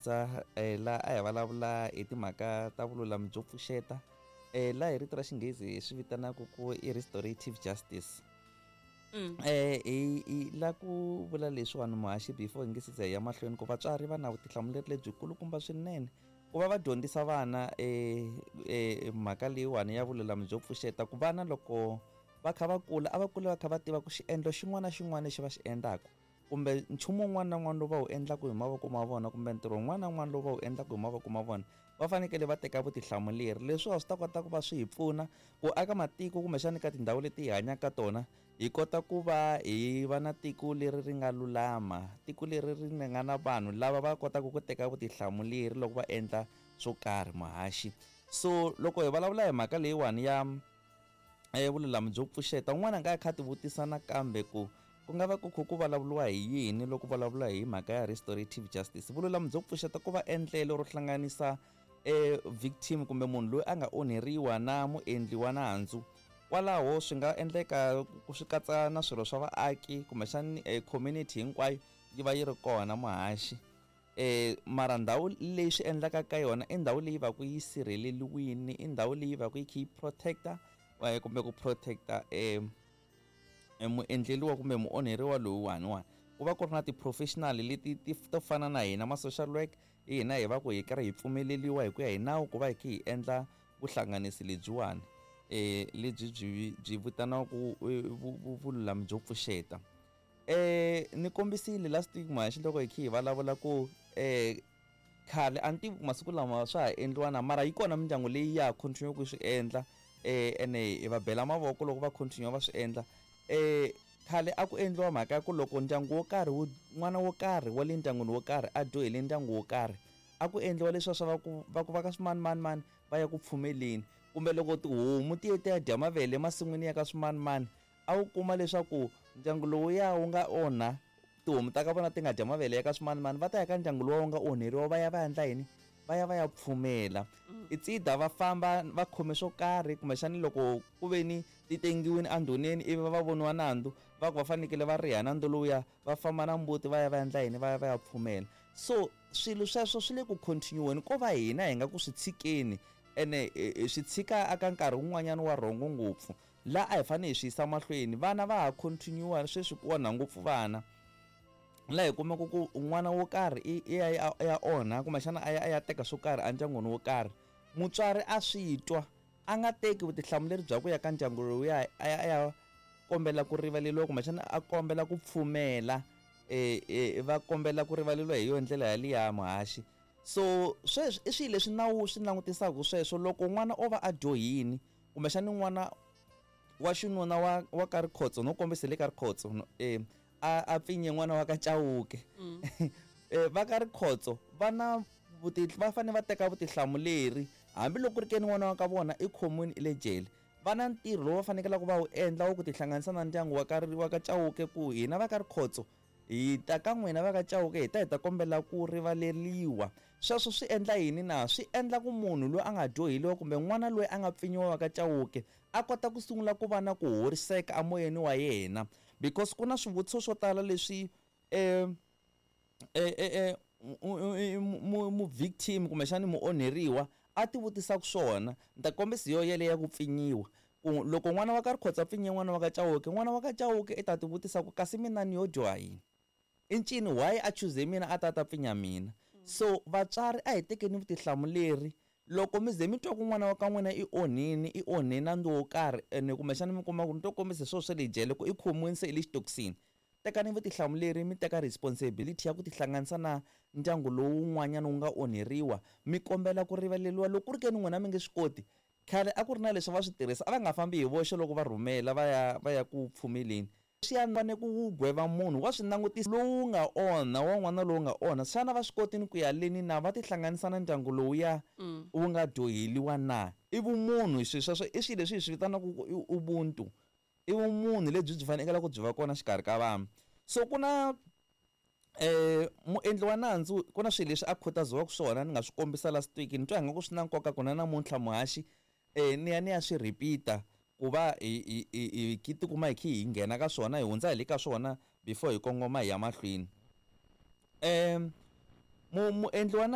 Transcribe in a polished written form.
Tsa la a hi vulavula hi timhaka ta vululami byo pfuxeta laha hi rito ra xinghezi hi swi vitanaka ku i restorative justice. Hi la ku vula leswiwani muhaxi before hi nge se za hi ya mahlweni ku vatswari va na vutihlamuleri lebyikulukumba swinene ku va va dyondzisa vana mhaka leyiwani ya vululami byo pfuxeta ku vana loko va kha va kula a va kula va kha va tiva ku xiendlo xin'wana na xin'wana lexi va xi endlaka kumbe nchumu wun'wana na wun'wana lowu va wu endlaka hi mavoko ma vona kumbe ntirho wun'wana na wun'wana lowu va wu endlaka hi mavoko ma vona va fanekele va teka vutihlamuleri. Leswiwa swi ta kota ku va swi hi pfuna ku aka matiko kumbexana ka tindhawu leti hi hanyaka ka tona hi kota ku va hi va na tiko leri ri nga lulama, tiko leri ri nga na vanhu lava va kotaka ku teka vutihlamuleri loko va endla swo karhi muhaxi. So loko hi vulavula hi mhaka leyiwani ya vululami byo pfuxeta un'wana a nga ya kha ti vutisa nakambe ku ku nga va ku kha ku vulavuriwa hi yini loko vulavula hi mhaka ya restorative justice. Vululami byo pfuxeta ku va endlelo ro hlanganisa victim kumbe munhu loyi a nga onheriwa na muendli wa nandzu. Kwalaho swi nga endleka ku swi katsa na swirho swa vaaki kumbexani community hinkwayo yi va yi ri kona muhaxi. Mara ndhawu leyi swi endlaka ka yona i ndhawu leyi va ku yi sirheleliwini, i ndhawu leyi va ku yi kha yi protect-a kumbe ku protect-a muendleriwa kumbe muonheriwa lowuwani wani. Ku va ku ri na ti-professional leti ti to fana na hina ma-social work, hi hina hi va ku hi karhi hi pfumeleriwa hi ku ya hi nawu ku va hi kha hi endla vuhlanganisi lebyiwani lebyi byi byi vitaniwaka vululami byo pfuxeta. Ni kombisile last week muhaxi loko hi kha hi vulavula ku khale a ni tivi ku masiku lama swa ha endliwa na mara yi kona mindyangu leyi ya ha continue ku swi endla ene hi va bela mavoko loko va continue va swi endla. Khale a ku endliwa mhaka ya ku loko ndyangu wo karhi wu n'wana wo karhi wa le ndyangwini wo karhi a dyohele ndyangu wo karhi a ku endliwa leswiya swa va ku va ku va ka swimanimani va ya ku pfumeleni kumbe loko tihomu ti ye ti ya dya mavele emasin'wini ya ka swimanimani a wu kuma leswaku ndyangu lowuya wu nga onha tihomu ta ka vona ti nga dya mavele ya ka swimanimani va ta ya ka ndyangu luwa wu nga onheriwa va ya va endla yini va ya va ya pfumela. It's either va famba va khome swo karhi kumbexani loko ku ve ni ti tengiwini endhuneni ivi va voniwa nandzu va ku va fanekele va riha nandzu lowuya va famba na mbuti va ya va endla yini va ya va ya pfumela. So swilo sweswo swi le ku continue-weni ko va hina hi nga ku swi tshikeni ene hi swi tshika aka nkarhi wun'wanyana wa rhongo ngopfu laha a hi fanele hi swi yisa mahlweni. Vana va ha continue sweswi ku onha ngopfu vana laha hi kumaka ku n'wana wo karhi i ya ya onha kumbexana a ya a ya teka swo karhi endyangwini wo karhi mutswari a swi twa a nga teki vutihlamuleri bya ku ya ka ndyangu lowuya a ya a ya kombela ku rivaleriwa kumbexana a kombela ku pfumela va kombela ku rivaleriwa hi yona ndlela yaliya muhaxi. So sweswi i swilo leswi nawu wu swi langutisaka sweswo loko n'wana o va a dyohini kumbexani n'wana wa xinuna wa wa ka Rikhotso no kombisa le ka Rikhotso a a pfinye n'wana wa ka Chauke va ka Rikhotso va na va fanele va teka vutihlamuleri hambiloko ku ri ke ni n'wana wa ka vona i khomiwini i le jele va na ntirho lowu va fanekelaka va wu endla wa ku tihlanganisa na ndyangu wa ka wa ka Chauke ku hina va ka Rikhotso hi ta ka n'wina va ka Chauke hi ta hi ta kombela ku rivaleriwa. Sweswo swi endla yini na? Swi endla ku munhu loyi a nga dyoheliwa kumbe n'wana loyi a nga pfinyiwa wa ka Chauke a kota ku sungula ku va na ku horiseka emoyeni wa yena because ku na swivutiso swo tala leswi mu-victim kumbexani muonheriwa a ti vutisaka swona. Ni ta kombisa hi yo yeleyo ya ku pfinyiwa ku loko n'wana wa ka Rikhotso a pfinye n'wana wa ka Chauke n'wana wa ka Chauke i ta ti vutisa ku kasi mina ni yo dyoha yini i ncini why a chuze mina a ta ta pfinya mina. So vatswari a hi tekeni vutihlamuleri loko mi ze mi twa ku n'wana wa ka n'wina i onhini i onhe nandzu wo karhi ene kumbexana mi kuma ku ni to kombisa hi swona swa le jele ku i khomiwini se i le xitokisini tekani vutihlamuleri mi teka responsibility ya ku tihlanganisa na ndyangu lowun'wanyana wu nga onheriwa mi kombela ku rivaleriwa loko ku ri ke ni n'wina mi nge swi koti. Khale a ku ri na leswi va swi tirhisa a va nga fambi hi voxe loko va rhumela va ya va ya ku pfumeleni. Swi ya fane ku wu gweva munhu wa swi langutisa lowu nga onha wa n'wana lowu nga onha xana va swi kotini ku ya leni na va tihlanganisa na ndyangu lowuya wu nga dyoheliwa na. I vumunhu swilo sweswo i swilo leswi hi swi vitanaka ku i ubuntu i vumunhu lebyi byi fanekele ku byi va kona xikarhi ka vanhu. So ku na muendli wa nandzu ku na swilo leswi a khutaziwaka swona ni nga swi kombisa last week ni twa ingaku swi na nkoka ku na namuntlha muhaxi ni ya ni ya swi repeat-a ku va hi hi hi tikuma hi kha hi nghena ka swona hi hundza hi le ka swona before hi kongoma hi ya mahlweni. Muendli wa.